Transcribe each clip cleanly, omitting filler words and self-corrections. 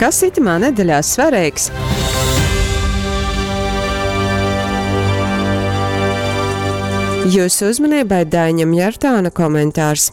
Kas itymā nedeļā svareigs? Jūsu uzmanībai Daiņa Mjartāna komentārs.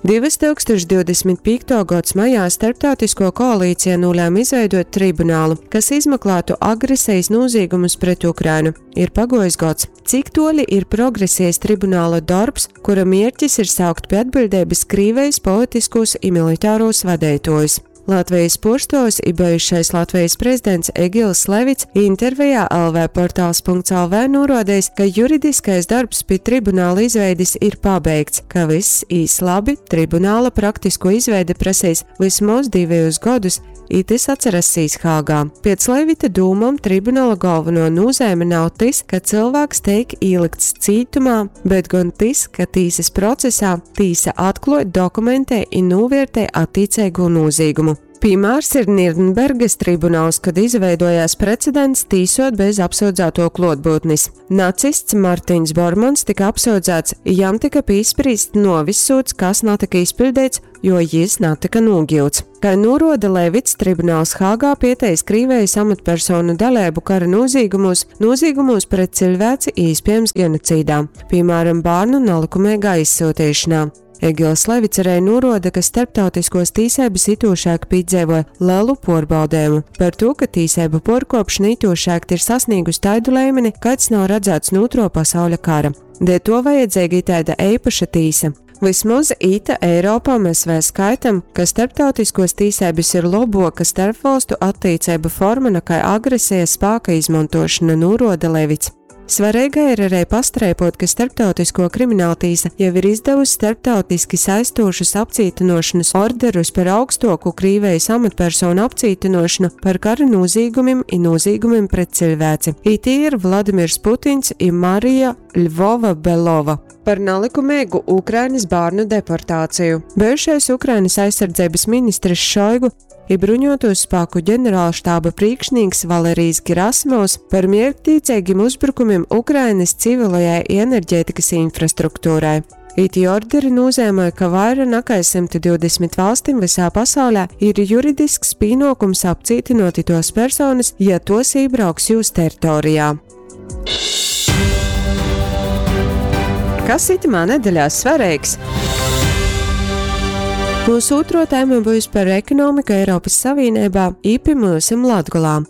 2025. Gods majā starptautisko koalīcija nolēma izveidot tribunālu, kas izmeklētu agresijas nozīgumus pret Ukrainu. Ir pagojis gads. Cik toļi ir progresies tribunāla darbs, kura mierķis ir saukt pie atbildības Krīvejas politiskos i militāros vadeitojus? Latvijas puorstuovs i bejušais Latvijas prezidents Egils Levits intervijā lvportals.lv nūruodejs, ka juridiskais dorbs pi tribunāla izveidis ir pabeigts, ka vyss īs labi, tribunāla praktisko izveide prasīs vysmoz divejus godus, i tys atsarassīs Hāgā. Piec Levita dūmom tribunala galveno nūzeime nav tys, ka cylvāks teik īlykts cītumā, bet gon tys, ka tīsys procesā tīsa atkluoj, dokumentej i nūviertej attīceigū nūzīgumu. Pīmārs ir Nirnbergas tribunals, kad izveidojās precedents tīsot bez apsūdzāto klotbūtnis. Nacists Martiņš Bormans tika apsūdzēts, jam tika pīsprīsts nuovis sūds, kas natika izpiļdeits, jo jis natika nūgiuts. Kai nūruoda Levits, tribunals Hāgā pieteis Krīvejas amatpersonu daleibu kara nozīgumos, nozīgumos pret cilvēci īspiejams genocīdā, piemēram, bārnu nalikumīgā izsūtīšanā. Egils Levits arī nūruoda, ka starptautiskos tīseibys itūšāk pīdzeivoj lelu puorbaudējumu par tū, ka tīseibu puorkuopšona itūšākt ir sasnīgus taidu leimeni, kāds nav radzāts nu Ūtro pasauļa kara. Dēļ to vajadzīga itaida eipaša tīsa. Vysmoz ita Eiropā mēs vēl skaitam, ka starptautiskos tīseibys ir lobuoka starpvalstu attīceibu forma nakai agresijas spāka izmontošana, nūruoda Levits. Svareigai ir arī pastreipot, ka Starptautisko krimināltīsa jau ir izdevusi starptautiski saistošus apcītynuošonys orderus par augstuoku Krīvejis amatpersonu apcītynuošonu par kara nūzīgumim i nūzīgumim pret ciļvēci. I tī ir Vladimirs Putins i Marija Ļvova-Belova. Par nalikumeigu Ukrainys bārnu deportāciju. Bejušais Ukrainys aizsardzeibys ministrs Šoigu i bruņuotūs spāku ģeneralštāba prīkšnīks Valerijs Gerasimovs par mierktīceigim uzbrukumim Ukrainys civilajai i enerģētikys infrastruktūrai. Itī orderi nūzeimoj, ka vaira nakai 120 valstim vysā pasaulē ir juridisks pīnuokums apcītynuot ituos personys, ja tuos ībrauks jūs teritorijā. Kas itymā nedeļā svareigs? Mūsu ūtro tēma būs par ekonomiku Eiropas Savīneibā, i pi myusim Latgolā.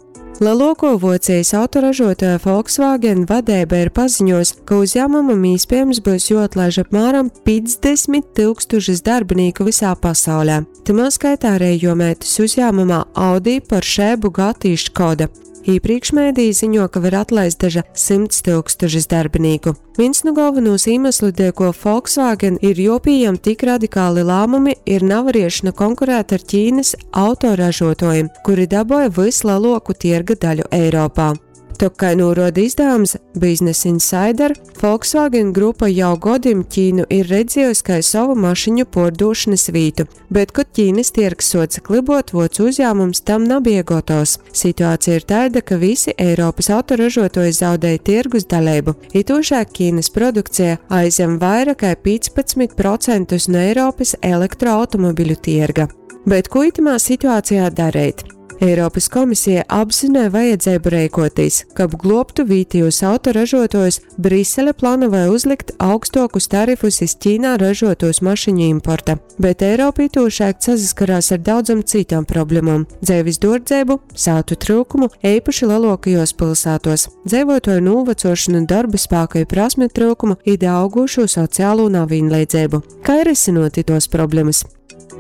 Leluokuo Vuocijas autoražotuoja Volkswagen vadeiba ir paziņojusi, ka uzjāmumam īspiejams byus juoatlaiž apmēram 50 tūkstošus darbinīku visā pasaulē. Tymā skaitā arī juo meitas uzjāmumā Audi, Porsche, Bugatti i Škoda. Īprīkš mēdīji ziņo, ka var atlaist daža 100 tūkstošus darbinīku. Vīns nu galvenūs īmeslu, dēļ ko Volkswagen ir jopījam tik radikāli lāmumi, ir navariešana konkurēt ar Ķīnas autoražotojiem, kuri daboja visleloku tierga daļu Eiropā. Tok, kai nūruoda izdavums Business Insider, Volkswagen grupa jau godim Ķīnu ir redzējusi kai sovu mašiņu puordūšonys vītu, bet kod Ķīnys tiergs suoce klybot, vuocu uzjāmums tam nabie gotovs. Situācija ir taida, ka visi Eiropys autoražuotuoji zaudej tiergus daleibu. Itūšāk Ķīnys produkcija aizjem vaira kai 15% nu Eiropys elektroautomobiļu tierga. Bet kū itymā situācijā dareit? Eiropys Komisija apzynoj vajadzeibu reikuotīs, kab gluobtu vītejūs autoražuotuojus, Brisele planavoj uzlikt augstuokus tarifus iz Ķīnā ražuotūs mašiņu importa. Bet Eiropa itūšaļt sasaskarās ar daudzom cytom problemom, dzeivis duordzeibu, sātu tryukumu, eipaši leluokajuos pylsātuos, dzeivuotuoju nūvacuošonu, dorba spāka i prasmju tryukumu i daaugušū socialū navīnleidzeibu. Kai rysynuot ituos problemys?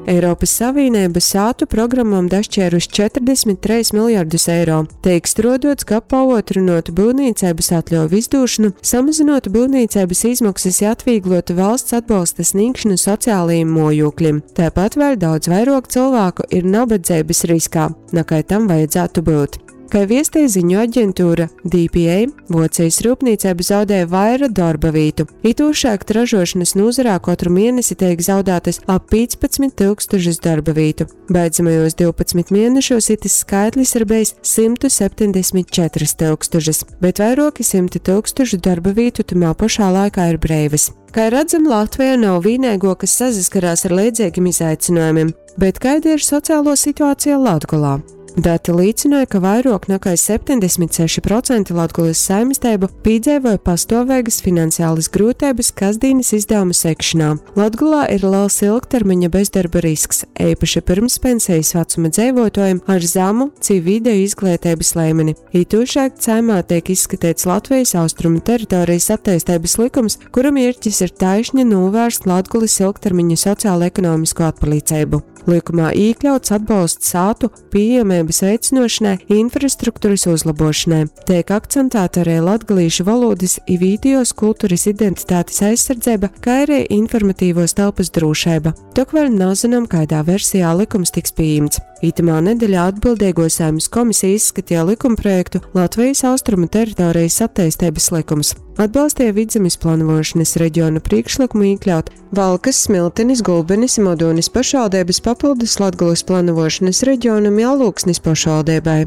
Eiropys Savīneiba sātu programmom dašķērusi 43 miljardus eiro. Teik struoduots, kab pauotrynuotu byuvnīceibys atļuovu izdūšonu, samazynuotu byuvnīceibys izmoksys i atvīgluotu valsts atbolsta snīgšonu socialajim muojūklim. Taipat vēļ daudz vairuok cylvāku ir nabadzeibys riskā, nakai tam vajadzātu byut. Kai viestej ziņu aģentūra DPA, Vuocijas rūpnīceiba zaudēja vaira dorba vītu. Itūšakt ražošanas nozarā kotru mienesi teik zaudātas ap 15 tūkstošus darba vītu. Beidzamajos 12 mienešos itis skaitlis ir bejs 174 tūkstošas, bet vairuoki symti tūkstošu darba vītu tymā pošā laikā ir breivys. Kai radzam, Latveja nav vīneiguo, kas sasaskarās ar leidzeigim izaicinojumim, bet kaida ir sociālo situācija Latgolā? Dati līcynoj, ka vairuok nakai 76% Latgolys saimisteibu pīdzeivoj pastuoveigys finansialys gryuteibys kasdīnys izdavumu segšonā. Latgolā ir lels ilgtermiņa bezdarba risks, eipaši pyrmspensejis vacuma dzeivuotuojim ar zamu ci videju izgleiteibys leimeni. Itūšaļt Saeimā teik izskateits Latvejis austrumu teritorejis atteisteibys lykums, kura mierķis ir taišni nūvērst Latgolys ilgtermiņa socialekonomisko atpaliceibu. Lykumā īkļauts atbolsts sātu pīejameibys veicynuošonai i infrastrukturys uzlobuošonai. Teik akcentāta ari latgalīšu volūdys i vītejuos kulturys identitatis aizsardzeiba, kai ari informatīvuos telpys drūšeiba. Tok vēļ nazynom, kaidā versijā lykums tiks pījimts. Itymā nedeļā atbildeiguo Saeimys komisija izskateja lykumprojektu Latvejis austrumu teritorejis atteisteibys lykums. Atbalsteja Vidzemis planavuošonys regiona prīšklykumu īkļaut Valkys, Smiltinis, Gulbenis i Modūnis pošvaldeibys papyldus Latgolys planavuošonys regionam i Alūksnis pošvaldeibai.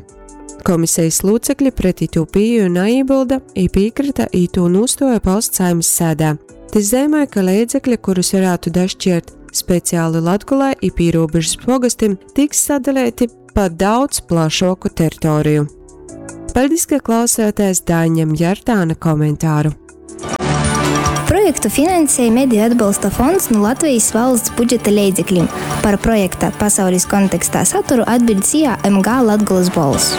Komisejis lūcekli pret itū pīeju naībylda i pīkryta itū nūstuoju paust Saeimys sēdē. Tys zeimoj, ka leidzekli, kurus varātu daškiert speciali Latgolai i pīrūbežys pogostim, tiks sadaleiti pa daudz plašuoku teritoriju. Paļdis, ka klausējāties Daiņam Jartāna komentāru. Projektu finansēja Mediju atbalsta fonds nu Latvejis valsts budžeta leidzeklim. Par projekta Pasaulis kontekstā saturu atbiļd SIA MG Latgolys bolss.